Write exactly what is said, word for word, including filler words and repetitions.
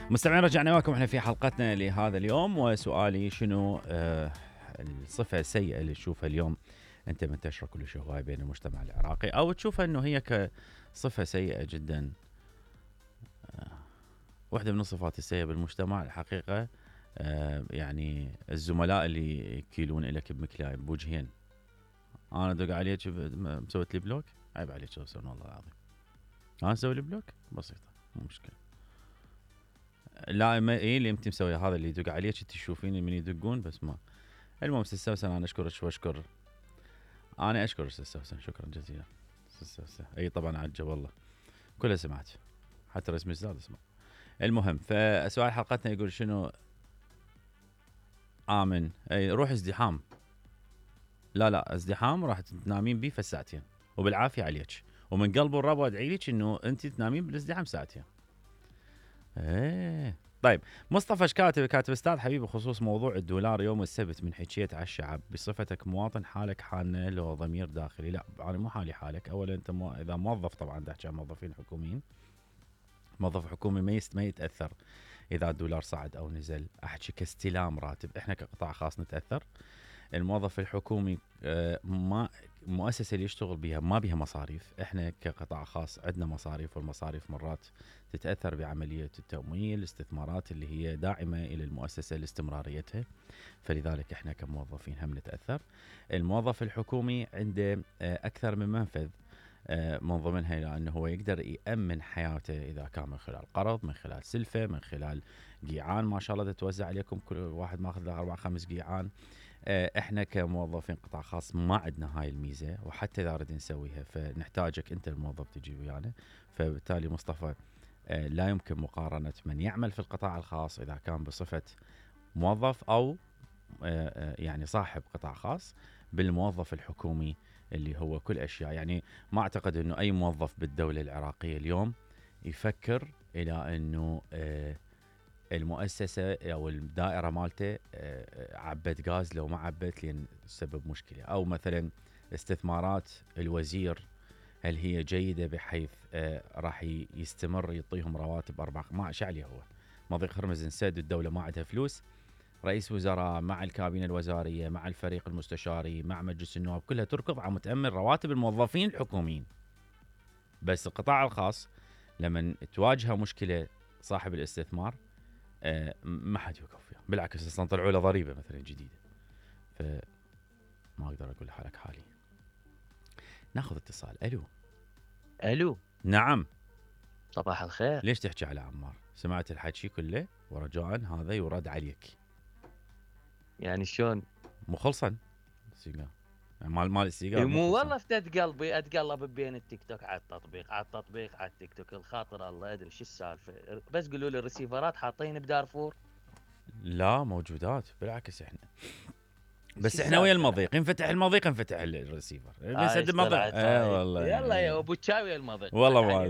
مستمعين رجعنا وياكم احنا في حلقتنا لهذا اليوم، وسؤالي شنو آه الصفة السيئة اللي تشوفها اليوم انت منتشرة كلش هواي بين المجتمع العراقي، او تشوفها انه هي كصفة سيئة جدا. آه واحدة من الصفات السيئة بالمجتمع الحقيقة آه يعني الزملاء اللي يكيلون لك بمكلاي بوجهين. انا دق عليك مسويت لي بلوك، عيب عليك سوسن والله العظيم. انا اسوي لي بلوك بسيطة مو مشكلة. لا ما ايه اللي انت مسوي هذا اللي يدق عليك انت تشوفيني من يدقون بس ما. المهم سوسن انا اشكرك واشكر انا اشكر سوسن شكرا جزيلا. سوسن اي طبعا عجه والله كلها سمعت حتى رسم الزاد اسمع. المهم فسؤال حلقتنا يقول شنو امن اي روح ازدحام. لا لا ازدحام راح تنامين بيه في ساعتين وبالعافيه عليك، ومن قلب الرب ادعي لك انه انت تنامين بالازدحام ساعتين. ايه طيب مصطفى شكاتب كاتب استاذ حبيبي بخصوص موضوع الدولار يوم السبت من حكيت على الشعب بصفتك مواطن حالك حالنا لو ضمير داخلي. لا انا مو حالي حالك. اولا انت مو اذا موظف طبعا تحكي عن موظفين حكوميين، موظف حكومي ما ما يتاثر اذا الدولار صعد او نزل. احكي كاستلام راتب، احنا كقطاع خاص نتاثر. الموظف الحكومي ما المؤسسه اللي يشتغل بها ما بها مصاريف، احنا كقطاع خاص عندنا مصاريف، والمصاريف مرات تتاثر بعمليه التمويل، الاستثمارات اللي هي داعمه الى المؤسسه لاستمراريتها، فلذلك احنا كموظفين هم نتاثر. الموظف الحكومي عنده اكثر من منفذ من ضمنها لانه هو يقدر يامن حياته اذا كان من خلال قرض، من خلال سلفه، من خلال قيعان ما شاء الله تتوزع عليكم كل واحد ماخذ له اربع خمس قيعان. احنا كموظفين قطاع خاص ما عندنا هاي الميزه، وحتى اذا ردنا نسويها فنحتاجك انت الموظف تجي ويانا. فبالتالي مصطفى لا يمكن مقارنه من يعمل في القطاع الخاص اذا كان بصفه موظف او يعني صاحب قطاع خاص بالموظف الحكومي اللي هو كل اشياء. يعني ما اعتقد انه اي موظف بالدوله العراقيه اليوم يفكر الى انه المؤسسه او الدائره مالته عبت غاز لو ما عبت لين تسبب مشكله، او مثلا استثمارات الوزير هل هي جيده بحيث راح يستمر يعطيهم رواتب اربع ما عليه هو مضيق هرمز انسد الدوله ما عندها فلوس، رئيس وزراء مع الكابينه الوزاريه مع الفريق المستشاري مع مجلس النواب كلها تركض على متامن رواتب الموظفين الحكوميين. بس القطاع الخاص لما تواجهه مشكله صاحب الاستثمار أه ما حد يوقف فيها، بالعكس اصلا طلعوا له ضريبه مثلا جديده. فما اقدر اقول حالك حالي. ناخذ اتصال. الو الو نعم صباح الخير. ليش تحكي على عمار؟ سمعت الحكي كله ورجاء هذا يرد عليك. يعني شلون مو خلصا السيجار مال مال السيجار مو والله افتت قلبي اتقلب بين التيك توك على التطبيق على التطبيق على التيك توك الخاطر الله ادري شو السالفه. بس قولوا لي الريسيفرات حاطين بدارفور؟ لا موجودات بالعكس احنا بس احنا ويا المضيق ينفتح المضيق ينفتح الريسيفر بس آه المضيق. اه والله يا ابو تشاوي المضيق والله ما ادري